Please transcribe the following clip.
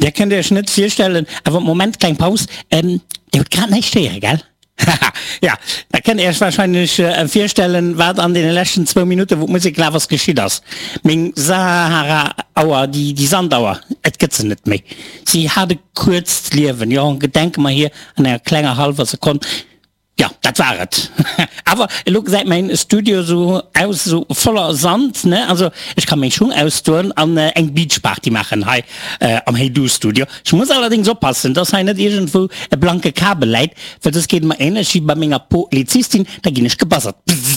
Dir kënnt Iech net virstellen, awer Moment, kleng Paus, Dir hutt grad näischt héiere, gell? Haha, ja, da kënnt Dir Iech wahrscheinlech virstellen, wat an deene leschten zwou Minutten, wou d'Musek gelaf ass, geschitt ass. Meng Sahara-Auer, déi, déi Sandauer, et gëtt se net méi. Si hat e kuerzt Liewen, jo, gedenke mer hir an enger klenger hallwer Sekonn. Jo, dat war et. Awer elo gesäit mäin Studio sou aus, sou voller Sand, ne? Also ech ka meng Schung ausdoen an eng Beachparty maachen hei am Hey Du Studio. Ech muss allerdéngs oppassen, dass hei net iergendwou e blanke Kabel läit, well soss geet et mer ähnlech wéi bei menger Polizistin, da ginn ech gebuzzert. Bzzz.